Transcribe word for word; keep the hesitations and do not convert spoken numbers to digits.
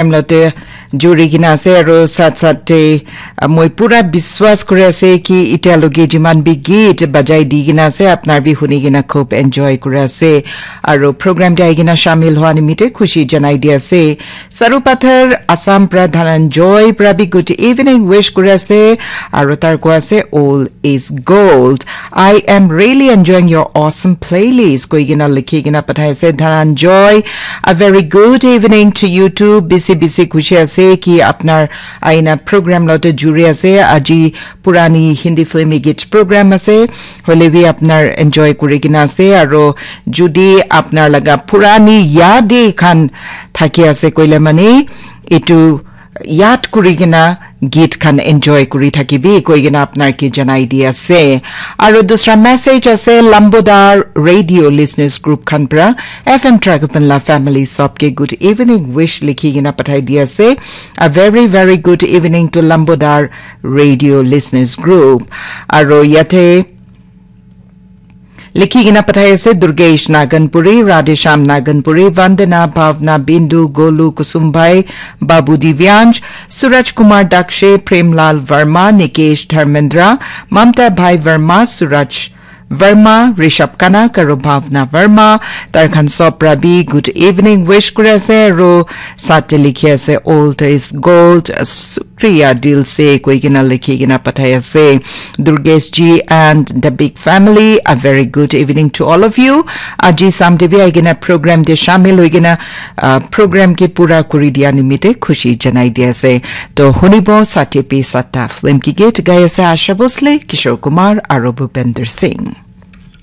time lote juri kena ase, aro sat sat te, ah, moi pura biswas kuri ase ki itya loge jiman bi git bajai di kena ase, apnar bi huni kena khub enjoy kuri ase, aro program te ahi kena shamil hua nimite khushi janai di ase. Saru Pathar, Assam pra Dhananjoy pra bi good evening wish kuri ase, aro tar koi ase, all is gold. I am really enjoying your awesome playlist. Koi kena likhi kena pathai ase Dhananjoy. A very good evening to you too. Bisi bisi khushi ase ki apnar aina program lote juri ase. Aji purani Hindi filmi git program ase. Hoile bi apnar enjoy kuri kena ase. Aro judi apnar laga purani yade khan thaki ase koile mane, itu yat kuri kena git khan enjoy kuri thakibi koi kena apnar ke janai di ase. Aro dusra message ase Lambodar Radio Listeners Group khan pra, F M Tragapan la family sob ke good evening wish likhi kena pathai di ase. A very, very good evening to Lambodar Radio Listeners Group. Aro yate likhi kena pathai ase Durgesh Naganpuri, Radhesham Naganpuri, Vandana, Bhavna, Bindu, Golu, Kusumbai, Babu Divyansh, Suraj Kumar Dakshe, Premlal Verma, Nikesh Dharmendra, Mamta Bhai Verma, Suraj Verma, Rishabh Kanak, aro Bhavna Verma, tar khan sob pra bi good evening wish kuri ase, aro sate likhi ase, all is gold, Priya Dilse koi kena likhi kena pathai ase. Durgesh ji and the big family, a very good evening to all of you. Aji samde bi ahi kena program te shamil hoi kena, ah, program ke pura kuri dia nimite khushi janai di ase. To hunibo sate pi sata film ki git gai ase Asha Bhosle, Kishore Kumar aro Bhupender Singh.